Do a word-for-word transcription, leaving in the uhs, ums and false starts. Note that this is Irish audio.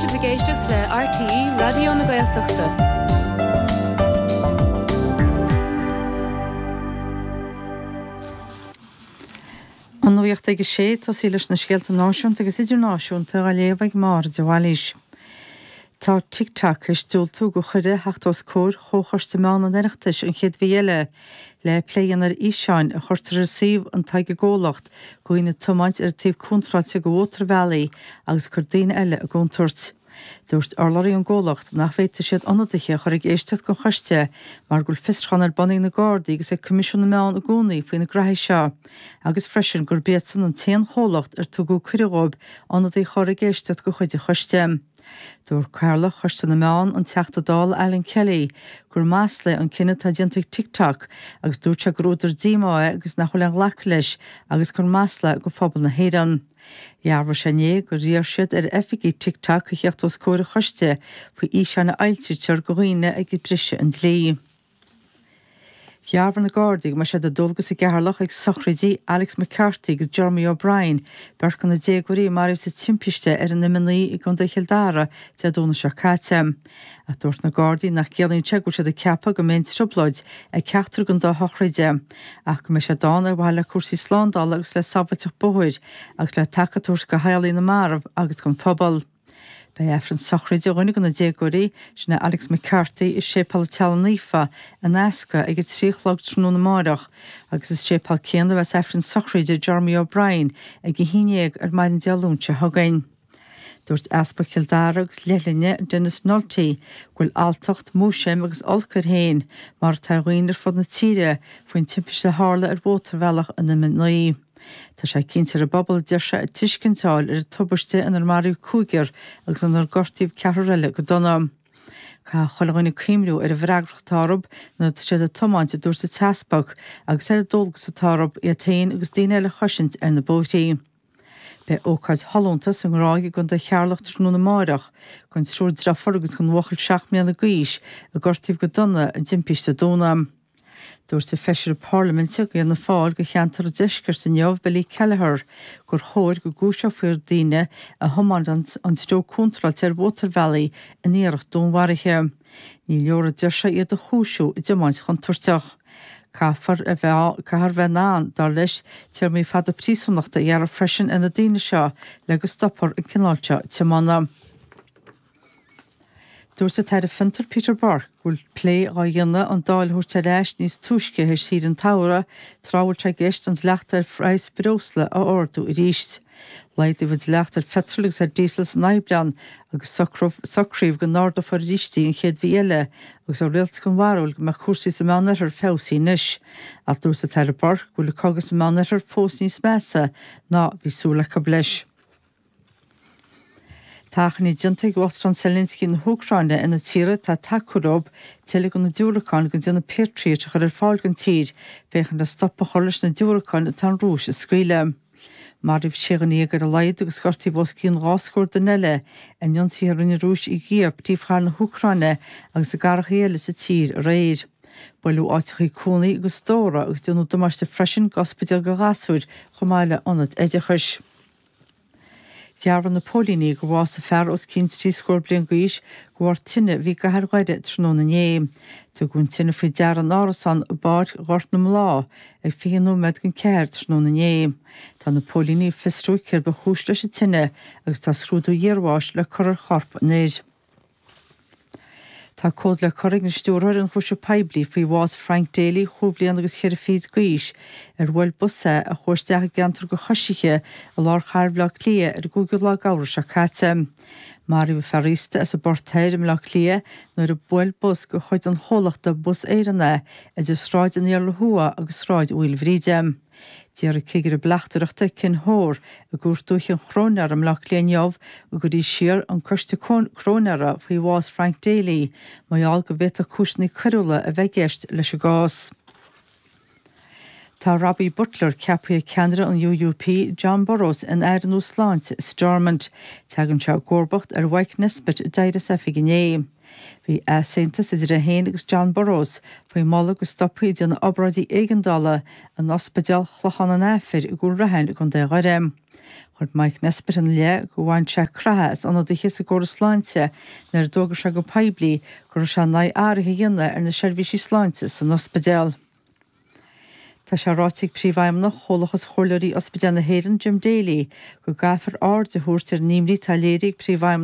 sibh ag éisteacht le RTÉ Raidió na Gaeltachta. An nuacht ag a sé tosaí leis na scéalta náisiúnta agus idirnáisiúnta á léamh ag Máire de Bhailís. Tá TikTok tar éis diúltú do chuireadh theacht os comhair Chomhchoiste Meán an Oireachtais an chéad mhí eile le plé a dhéanamh ar fhíseáin a chuirtear ar suíomh atá ag an gcomhlacht de dhaoine ag tiomáint ar an taobh contráilte de mhótarbhealaí agus ag cur daoine eile i gcontúirt. Dúirt urlabhraí ón gcomhlacht nach bhféadfaidh siad ionadaithe a chur ag éisteacht don choiste mar go bhfuil fiosrúchán ar bun ag na Gardaí agus ag Coimisiún na Meán i gcónaí faoi na graithí seo agus freisin gurb iadsan an t-aon chomhlacht ar tugadh cuireadh dóibh ionadaí a chur ag éisteacht de chuid an choiste. Dúirt Cathaoirleach Choiste na Meán an Teachta Dála Alan Kelly gur masla é an cinneadh atá déanta ag TikTok agus dúirt sé gur údar díomá é agus nach bhfuil le glacadh leis agus gur masla do phobal na hÉireann. Dhearbhaigh sé inné gur iarr siad ar oifigigh TikTok a theacht os comhair an choiste faoi fhíseáin a fhoilsítear de dhaoine ag briseadh an dlí. Dhearbhaigh na Gardaí go mbeidh sé de dualgas i gCeatharlach ag sochraidí Alex McCarthy agus Jeremy O'Brien, beirt de na déagóirí a maraíodh sa timpiste ar an M naoi i gContae Chill Dara Dé Domhnaigh seo caite. Ach dúirt na Gardaí nach gciallaíonn sé go bhfuil siad ag ceapadh go mbeidh trioblóid ag ceachtar den dá shochraid, ach go mbeidh sé ann ar mhaithe le cúrsaí slándála agus le sábháilteacht bóthair agus le taca a thabhairt do theaghlaigh na marbh agus don phobal. Beidh Aifreann sochraide dhuine de na déagóirí, sin é Alex McCarthy i Séipéal an Teaghlaigh Naofa in Easca ag a trí a chlog tráthnóna amárach agus sa séipéal céanna a bheas Aifreann sochraide Jeremy O'Brien ag a haon déag ar maidin Dé Luain seo chugainn. Dúirt Easpag Chill Dara agus Leithghlinn Denis Nulty go bhfuil alltacht, múisiam agus olc air féin mar atá ar dhaoine ar fud na tíre faoin timpiste a tharla ar mhótarbhealach an M naoi. Tá sé cinnte ar an bpobal deir sé tuiscint a fháil ar an tubaiste inar maraíodh cúigear agus inar gortaíodh ceathrar eile go dona. Caithfidh chuile dhuine cuimhniú ar an bhfreagracht atá orthu nuair atá siad ag tiomáint a dúirt an tEaspag agus ar an dualgas atá orthu iad féin agus daoine eile a chosaint ar na bóithrí. Beidh ócáid shollúnta sa nGráig i gContae Cheatharlach tráthnóna amárach don triúr deirfiúr agus don bhuachaill seacht mbliana d'aois a gortaíodh go dona i dtimpiste Domhnaigh. Dúirt an feisire Parlaiminte d'Fhianna Fáil do cheantar an Deiscirt inniu Billy Kelleher gur chóir go gcúiseofaí daoine a thiomáineann an treo contráilte ar mhótarbhealaí in iarracht dúnmharaithe. Ní leor a deir sé iad a chúisiú i dtiomáint chontúirteach. Caithfear a bheith caithfear bheith in ann dar leis téarmaí fada príosúnachta a ghearradh freisin ar na daoine seo le go stopfar an cineál seo tiomána. Dúirt an tAire Fiontar Peter Burke go bhfuil plé á dhéanamh an Dáil a thabhairt ar ais níos túisce théis shaoire an tsamhraidh tráth a bhfuil sé i gceist an dleacht ar phraghas breosla a ardú arís. Laghdaíodh an dleacht ar pheitreal agus ar diesel san Aibreán agus socraíodh go n-ardófar arís í an chéad mhí eile agus an rialtas den bharúil go mbeadh cúrsaí sa Meánoirthear feabhsaithe anois. Ach dúirt an tAire Burke go bhfuil an cogadh sa Meánoirthear fós níos measa ná bhí súil acu leis. Tá achainí déanta ag Uachtarán Zelensky na hÚcráine ar na tíortha atá ag tacú leo tuilleadh de na diúracáin den déanamh Patriot a chur ar fáil don tír, féachaint le stop a chur leis na diúracáin atá an Rúis a scaoileadh. Maraíodh sé dhuine déag ar a laghad agus gortaíodh os cionn dhá scór duine eile in ionsaithe a rinne an Rúis i gCív, príomhchathair na hÚcráine agus i gcathracha eile sa tír aréir. Buaileadh áiteachaí cónaí agus stóra agus déanadh damáiste freisin d'ospidéal do ghasúir chomh maith le ionad oideachais. Dhearbhaigh na póilíní gur bhásaigh fear os cionn trí scór bliain d'aois de bharr tine a bhí i gcathair Dhoire tráthnóna inné. Tugadh an tine faoi deara in árasán i bPáirc Ghort na mBláth ag fiche nóiméad don ceathair tráthnóna inné. Tá na póilíní ag fiosrú céard ba chúis leis an tine agus tá scrúdú iarbháis le cur ar chorp an fhir. Tá comhad le cur ag an stiúrthóir ionchúiseamh poiblí faoi bhás Frank Daly chúig bhliana agus cheithre fichid d'aois ar bhuail bus é a chuaigh isteach i gceantar do choisithe i lár chathair Bhaile Átha Cliath ar an gcúigiú lá d'Fheabhra seo caite. Maraíodh fear aosta as an bPort Thoir i mBaile Átha Cliath nuair a bhuail bus de chuid an chomhlachta Bus Éireann é idir Sráid an Iarla Thuaidh agus Sráid Mhaoilbhríde. D'iarr cigire bleachtaireachta Ken Hoare i gCúirt Dúiche an Chróinéara i mBaile Átha Cliath inniu go gcuirfí siar an coiste cróinéara faoi bhás Frank Daly, mar gheall go bhféadfadh cúiseanna coiriúla a bheith i gceist leis an gcás. Tá Robbie Butler ceaptha ag ceannaire an UUP John Burrows ina aire nua sláinte i Stormont. Tagann sé i gcomharbacht ar Mike Nesbitt a d'éirigh as oifig inné. Bhí easaontas idir é féin agus John Burrows faoi mholadh go stopfaí ag déanamh obráidí éigeandála in ospidéal Chlochán an Aifir i gCúil Raithin i gContae Dhoire. Chuir Mike Nesbitt ina leith gur bhain sé croitheadh as ionadaithe sa gcóras sláinte nuair a d'fhógair sé go poiblí go raibh sé in aghaidh athruithe a dhéanamh ar na seirbhísí sláinte san ospidéal. Tá sé ráite ag Príomhfheidhmeannach Chomhlachas Chomhairleoirí Ospidéal na hÉireann Jim Daly go gcaithfear aird a thabhairt ar an imní atá léirithe ag Príomhfheidhmeannach